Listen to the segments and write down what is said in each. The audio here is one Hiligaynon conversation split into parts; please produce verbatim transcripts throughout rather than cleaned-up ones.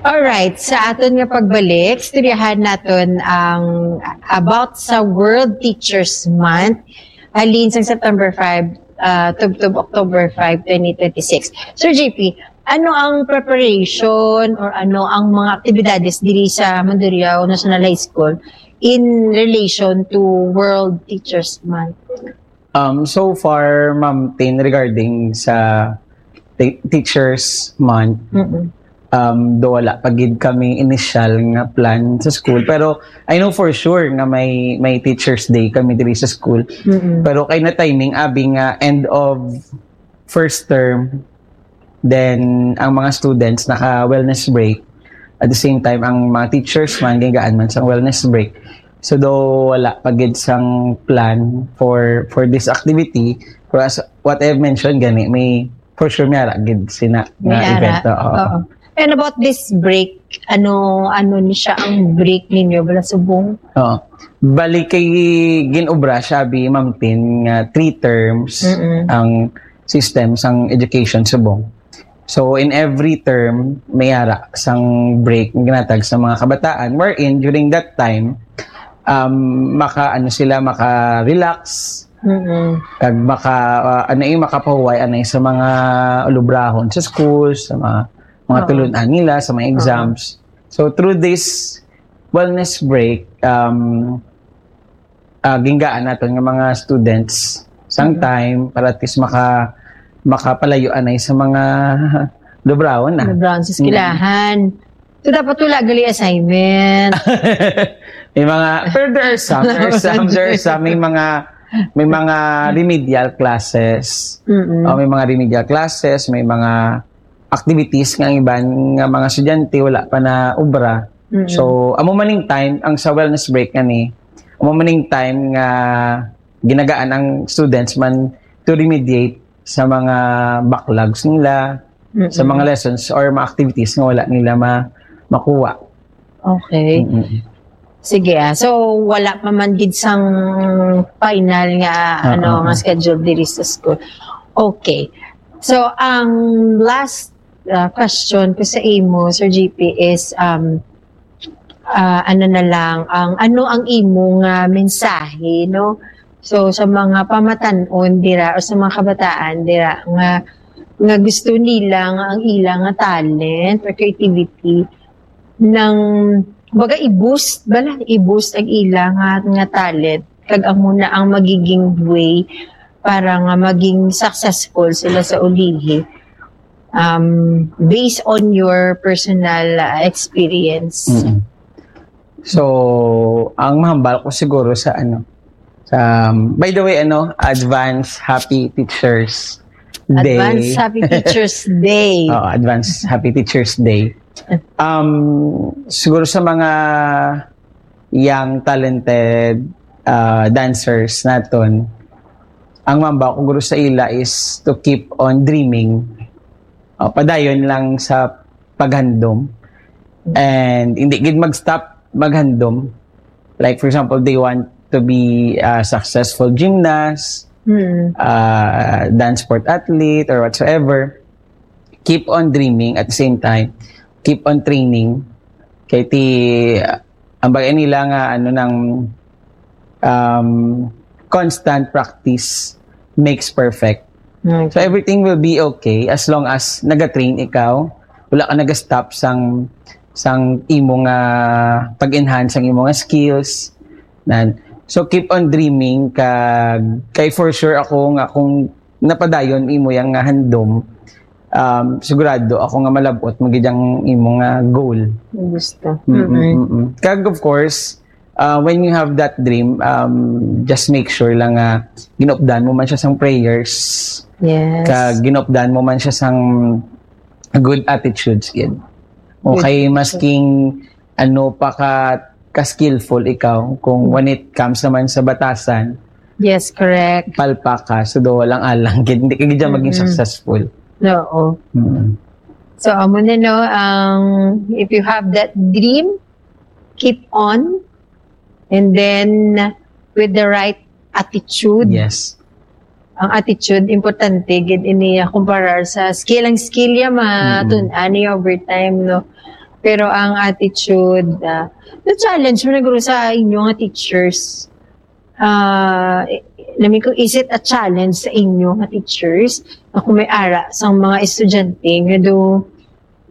Alright, sa aton nga pagbalik, istoryahan naton ang about sa World Teachers Month, halin sang September five, ah, tubtob October five, twenty twenty-six. Sir J P, ano ang preparation or ano ang mga aktibidades diri sa Mandurriao National High School in relation to World Teachers Month? Um, so far, Ma'am Tin, regarding sa te- Teachers Month, Mm-mm. um, do wala pa gid kami initial nga plan sa school. Pero I know for sure nga may may Teachers Day kami diri sa school. Mm-mm. Pero kay na timing, abi nga end of first term, then ang mga students naka wellness break. At the same time, ang mga teachers man, gingaan man sa wellness break. So do wala pa gid sang plan for for this activity. Pero as what I've mentioned gani, may for sure may ara gid sina May nga ara. event. Oo. Oo. And about this break, ano ano ni siya ang break ninyo bala subong? Oo. Bali kay ginobra siya bi, Ma'am Tin, nga three terms Mm-mm. ang system sang education subong. So in every term may ara sang break nga ginatag sa mga kabataan, wherein during that time um, maka ano sila maka-relax Mm-mm. kag maka uh, ano yung makapahuway anay sa mga ulubrahon sa schools, sa mga mga Oo. tulunan nila sa mga Oo. exams. So through this wellness break, um uh, ginggaan naton nga mga students sang Mhm. time para at least maka makapalayo anay sa mga lubrahon na. Ano brown sa eskwelahan. So, dapat wala gali assignment. May mga, pero there are some, there are some, there are some, may mga, may mga remedial classes. Mm-mm. O may mga remedial classes, may mga activities nga ang iban nga mga estudyante wala pa na obra. Mm-mm. So, amo maning time, ang sa wellness break nga ni, amo maning time nga ginagaan ang students man to remediate sa mga backlogs nila, Mm-mm. sa mga lessons or mga activities nga wala nila ma makuha. Okay. Mm-mm. Sige ah. So, wala pa man gid sang final nga Ah, ano ah, nga ah. schedule diri sa school. Okay. So, ang last uh, question ko sa imo, Sir G P, is um uh, ano na lang ang ano ang imo nga mensahe, no? So sa mga pamatan-on dira o sa mga kabataan dira nga nga gusto nila nga ang ila nga talent or creativity nang baga i-boost bala i-boost ang ila nga, nga talent kag amo na ang magiging way para nga maging successful sila sa ulihi um, based on your personal uh, experience. Mm-mm. So, ang mahambal ko siguro sa ano, sa, um, by the way, ano, advance happy teachers day. Advance Happy Teachers Day. Oo, advance happy teachers day. Um, siguro sa mga young talented uh, dancers naton, ang mamba ko guro sa ila is to keep on dreaming. Uh, padayon lang sa paghandom. And hindi gid mag-stop maghandom. Like for example, they want to be a successful gymnast, Hmm. uh, dance sport athlete or whatsoever. Keep on dreaming at the same time. Keep on training. Kay ti, ang bagay nila nga ano nang um, constant practice makes perfect. Okay. So everything will be okay as long as nagatrain ikaw, wala ka nagastop sang sang imo nga pag-enhance sang imo nga skills. Nan. So keep on dreaming kag kay for sure ako nga kung napadayon imo yang nga handom, um, sigurado ako nga malabot mo gid ang imo nga goal. Gusto. Mm-mm, Mm-mm. mm-mm. Kag of course, uh, when you have that dream, um, just make sure lang nga ginupdan mo man siya sang prayers, Yes. kag ginupdan mo man siya sang good attitudes gid. Okay, Good. Masking ano pa ka ka-skillful ikaw kung when it comes naman sa batasan, Yes, correct. palpa ka, so do walang alang gid, hindi ka gid dyan maging Mm-mm. successful. Oo. Mm. So, amo na, no, ang if you have that dream, keep on. And then, with the right attitude. Yes. Ang attitude, importante, gid ini, ah, kumparar sa skill. Ang skill, ya, matun-an ni over time, no? Pero ang attitude, ah, the challenge mo naguro sa inyo nga teachers. Ah, eh, I mean, kung is it a challenge sa inyo nga teachers na kung may ara sang mga estudyante nga do,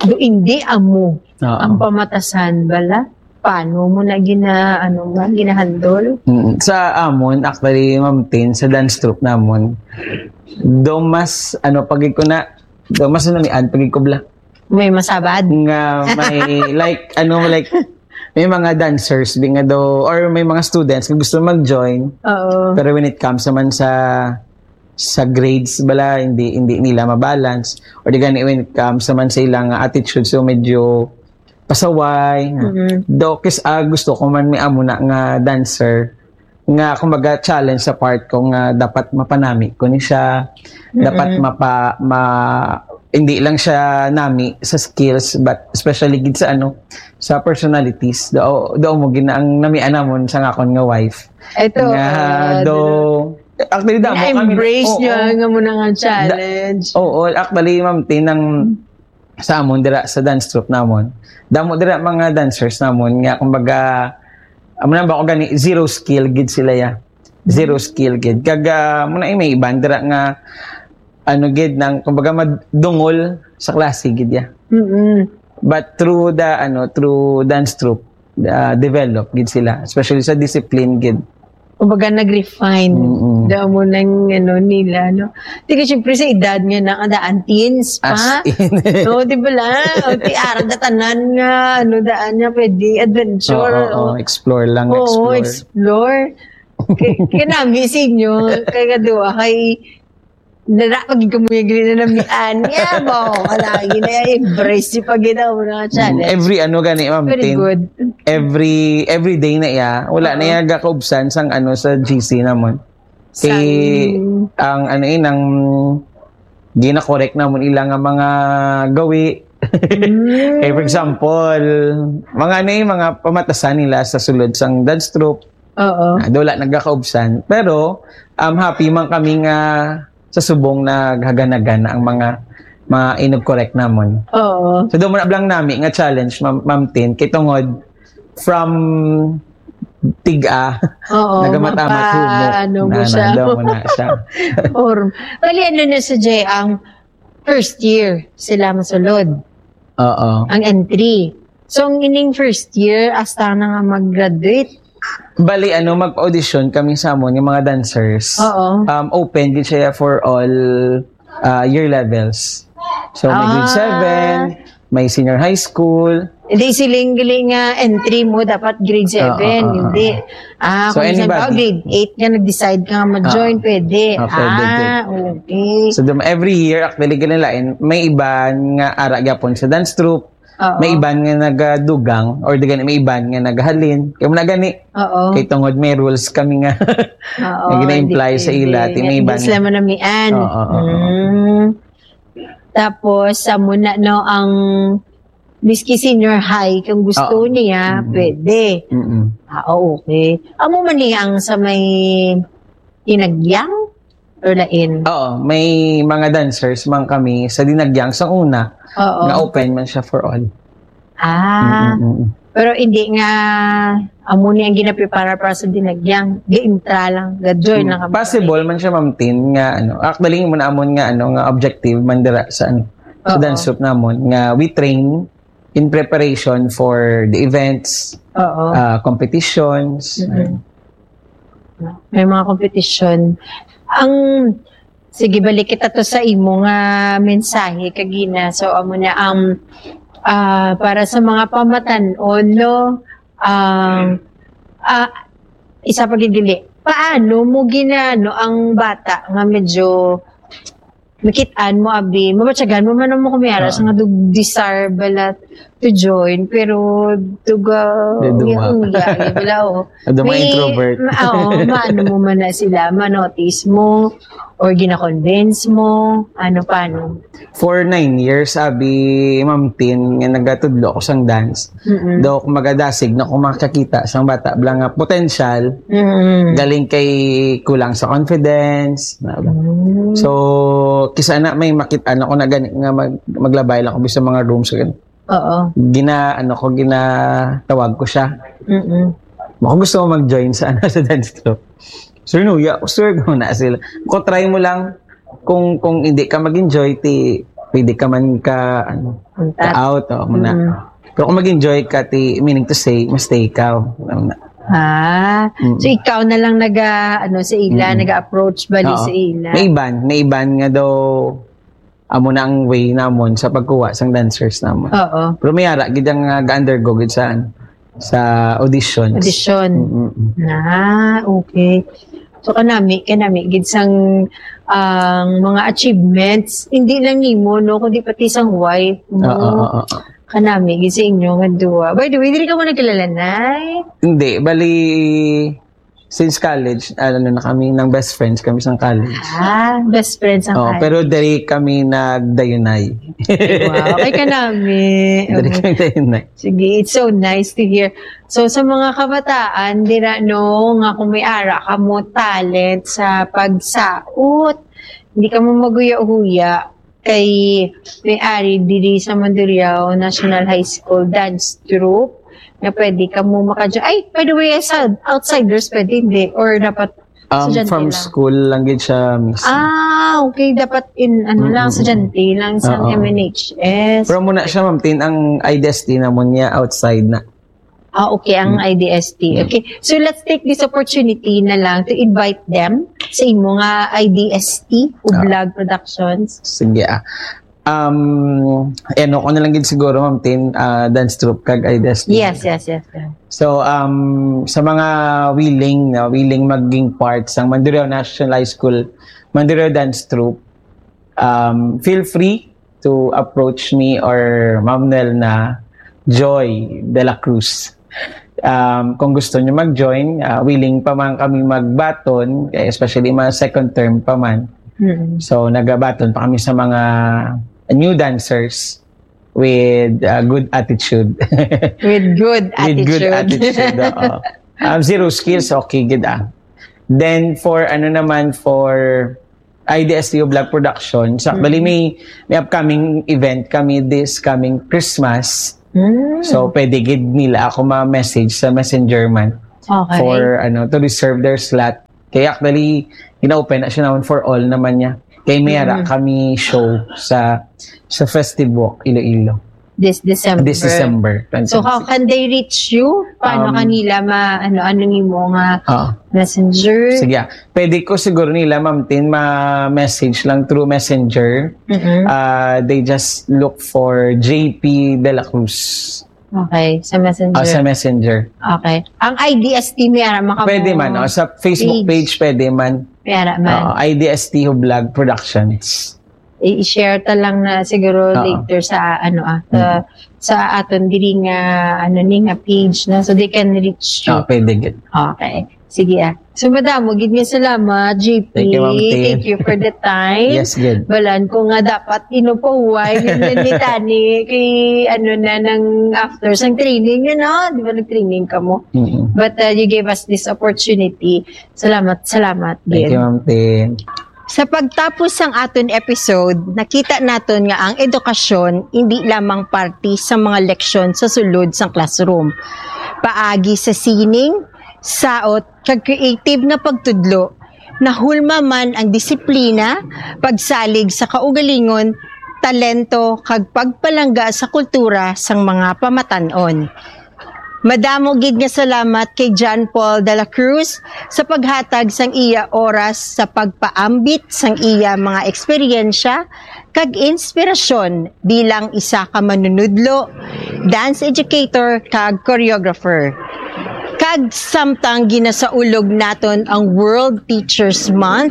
do hindi amo Oo. ang pamatasan bala? Paano mo na gina, ano ba, ginahandle? Mm, sa amon, actually, Ma'am Tin, sa dance troupe namon, do mas, ano, pag ko na, do mas namian, pag ko bla. May masabad? Nga may, like, ano, like, may mga dancers, di nga do, or may mga students nga gusto mag-join. Oo. Pero when it comes naman sa, sa grades, bala, hindi, hindi nila mabalance. Or di gani, when it comes naman sa ilang attitude, so medyo pasaway. Mm-mm. Do, kis, ah, gusto ko man may amo na nga dancer, nga, kumbaga, challenge sa part ko nga dapat mapanami ko ni siya. Dapat Mm-mm. mapa-, ma-, hindi lang siya nami sa skills, but especially gid sa, ano, sa personalities. Do, do mo gina ang namian namon sa akon nga wife. Ito, Nga, ah, do, do, actually, damo kami, na-embrace oo. niya nga mo na nga challenge. Da-, oo, actually, Ma'am Tin, ang sa amon dira sa dance troupe namon, damo dira mga dancers namon nga, kumbaga, amo na ba ko gani, zero skill gid sila ya. Zero skill gid. Kag, ah, mo na, eh, may iban dira nga, ano gid, nang, kumbaga, madungol sa klase gid ya. Mm-mm. But through the, ano, through dance troupe, ah, develop gid sila, especially sa discipline gid. Kumbaga, nag-refine. Mm-mm. Daw mo nang, ano, nila, no? Di ka, syempre, sa edad nga na, daan teens pa. As in. No, di ba lang? O, ti, arang ka tanan nga, ano, daan nga pwede, adventure, Oo, o. oo, explore lang, Oo, explore. explore. Kay, kay nami sa inyo, kay kaduwa, kay, nara, pag ikaw mo yung gina namian, niya, mo, wala, gina, embrace yung pag ginawa mo na Mm, challenge. every ano gani, Ma'am Very Tin? good. Every, every day na iya, wala na Oo. iya gakaubsan sang ano sa G C namon. Kay Sang ang ano, eh, nang gina-correct namon ila nga mga gawi. Mm. Eh, for example, mga ano, eh, mga pamatasan nila sa sulod sang dance troupe. Oo. Ah, do wala nagkakaubsan. Pero, um, happy man kami nga sa subong naghaganagan ang mga, mga inug-correct namon. Oo. So, do mo na blang nami nga challenge, Ma'am, Ma'am Tin, kay tungod from tiga, Oo, nagamatam at mapa-, humok. ano mo Na, siya. na, do mo na siya. Or, bali, ano na sa Jay, ang first year sila masulod. Oo. Ang entry. So, ang ining first year, hasta na nga mag-graduate. Bali, ano, mag-audition kami sa amon, yung mga dancers. Oo. Um, open din siya for all, uh, year levels. So, may grade Ah. seven, may senior high school. Hindi, siling gali nga entry mo, dapat grade seven, Ah, ah, ah, hindi. ah. Ah, So, kung saan ka, anybody. grade eight ka, nag-decide ka nga ma-join, Ah. pwede. Ah, pwede, Ah, pwede. okay. So, dum-, every year, actually, gali lain, may iban nga ara gyapon sa dance troupe, Oo. may iban nga nagadugang, or di gani, may iban nga nagahalin. Kaya mo na gani, Oo. kay tungod may rules kami nga, Oo, nga gina-imply hindi sa ila, pwede. ti may Hindi iban. sila manamian. Oo, oo, oo. Mm. Tapos, sa muna, no, ang miski senior high, kung gusto Oo. niya, Mm. pwede. Mm-mm. Ah, okay. Amo man ni ang sa may Dinagyang? Or lain? Oo, may mga dancers man kami sa Dinagyang sa una, Oo. nga open man siya for all. Ah. Mm-mm-mm. Pero hindi nga, amo ni ang ginaprepara para sa Dinagyang. Gi-intra lang, ga-join Mm, lang kami. possible man siya, Ma'am Tin, nga, ano, actually, mo na amon nga, ano, nga objective man dira sa, ano, sa Oo. dance troupe namon, nga we train in preparation for the events, Oo. uh, competitions. Mm-mm. May mga competition. Ang, sige, balik kita to sa imo nga mensahe kagina. So, amo na ang, ah, para sa mga pamatan-on, no? Ang, ah, isa pa gid dili. Paano mo ginano ang bata nga medyo makit-an mo, abi, mabatyagan mo man mo kumiara sa Ah. nga dug-, desire bala to join, pero duga, Di duma. Uya, uya, bala, oh. Ado mga May, introvert. ma-, oh, maano mo man na sila, ma-notice mo, or gina-convince mo, ano, paano? For nine years, abi, Ma'am Tin, nga nagatudlo ako sang dance. Mm-mm. Do, kung magadasig na kung makakita sang bata, bala nga potential, Mm-mm. galing kay kulang sa confidence, na ba? Mm. So, kisa na may makita na ko na gani nga mag-, maglabay lang ko sa mga rooms, ganun. Oo. Gina, ano ko, ginatawag ko siya. Mm-mm. Kung gusto mo mag-join sa, ano, sa dance troupe. Sir, no, ya, sir, ko na sila. Kung try mo lang, kung, kung hindi ka mag-enjoy, ti, pwede ka man ka, ano, Untat. ka out, oh, muna. Mm. Pero kung mag-enjoy ka, ti, meaning to say, mas stay ka, oh. Ano na. Ah, Mm. so ikaw na lang naga, ano, sa ila, Mm. naga-approach bali Oo. sa ila? May iban, may iban nga daw, amo na ang way namon sa pagkuha sang dancers namon. Oo. Pero may ara, gid ang, ah, ga-undergo gid sa, sa auditions. Audition. Mm-mm. Ah, okay. So, kanami, kanami, gid sang, ang mga achievements, hindi lang nimo, no, kundi pati sang wife mo. Oo, oo, oo. Kanami, gid sa inyo nga duwa. By the way, diri ka mo nagkilala, Nay? Hindi, bali, since college, ano na kami, nang best friends kami sa college. Ah, best friends ang Oo, college. Pero diri kami nagdayunay. Wow, ay kanami. Diri Okay. kami dayunay. Sige, it's so nice to hear. So, sa mga kabataan, dira, no, nga kung may ara ka mo talent sa pagsaot, hindi ka mo maguya-huya kay may ari diri sa Mandurriao National High School Dance Troupe nga pwede ka mo maka-, ay, by the way, sa outsiders, pwede, hindi? Or dapat Um, estudyante from lang? School lang gid siya, miss. Ah, okay. Dapat in, ano lang, Mm-mm. estudyante lang sa Oo. M N H S. Pero muna siya, ma'am, tin, ang I D S T namon niya outside na. Ah, okay, ang Mm. I D S T. Mm. Okay. So, let's take this opportunity na lang to invite them sa imo nga I D S T, Ah. Ublag Productions. Sige, ah. Um, ano ko na lang gid siguro, ma'am, tin, ah, dance troupe kag I D S T. Yes, yes, yes, yes. So, um, sa mga willing, no, willing maging part sang Mandurriao National High School, Mandurriao Dance Troupe, um, feel free to approach me or Ma'am Nel na Joy de la Cruz. Um, kung gusto nyo mag-join, ah, willing pa man kami magbaton, eh, especially mga second term pa man. Mm. So, nagabaton pa kami sa mga new dancers with, ah, good attitude. With good With good attitude. attitude, oo. Um, zero skills, okay, good, ah. Then, for, ano naman, for I D S T Ublag Productions, actually, Mm. may, may upcoming event kami this coming Christmas. Mm. So, pwede gid nila ako ma-message sa Messenger man Okay. for, ano, to reserve their slot. Kaya actually, gina-open na siya naman for all naman niya. Kay may ara Mm. kami show sa, sa Festive Walk, Iloilo. This December. This December, So, how twenty twenty-six. can they reach you? Paano Um, kanila ma-, ano, ano nimo nga Ah. messenger? Sige, ah. Pwede ko siguro nila, Ma'am Tin, ma-message lang through Messenger. Mm-mm. Ah, they just look for J P de la Cruz. Okay, sa Messenger. Ah, sa Messenger. Okay. Ang I D S T, may ara maka Pwede mo man, oh, sa Facebook page. page, pwede man. May ara man. Oo, I D S T Ublag Productions. I-share ta lang na siguro Oo. later sa, ano, ah, sa, Mm. sa aton diri nga, ano ni, nga page, no? So they can reach you. Oo, pwede gid. Okay. Sige, ah. So, madamo gid nga salamat, J P. Thank you, Ma'am Tin. Thank you for the time. Yes, good. Balan ko nga dapat inupahuway, ganyan ni Tani, kay, ano na, nang after sang training, you know? Di ba nag-training ka mo? Mm-mm. But, uh, you gave us this opportunity. Salamat, salamat Thank din. you, Ma'am Tin. Sa pagtapos sang aton episode, nakita naton nga ang edukasyon hindi lamang parte sa mga leksyon sa sulod sang classroom. Paagi sa sining, saot, kag creative nga pagtudlo, nahulma man ang disiplina, pagsalig sa kaugalingon, talento, kag pagpalangga sa kultura sang mga pamatan-on. Madamo gid nga salamat kay John Paul de la Cruz sa paghatag sang iya oras sa pagpaambit sang iya mga eksperyensya kag inspirasyon bilang isa ka manunudlo, dance educator, kag choreographer. Kag samtang ginasaulog naton ang World Teachers Month,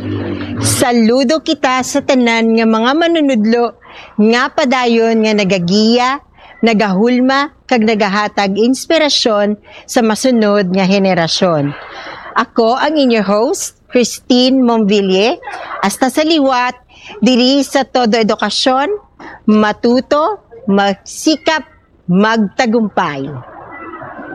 saludo kita sa tanan nga mga manunudlo nga padayon nga nagagiya, nagahulma, kag nagahatag inspirasyon sa masunod nga henerasyon. Ako ang inyo host, Christine Monville. Hasta sa liwat, diri sa Todo Edukasyon, matuto, magsikap, magtagumpay.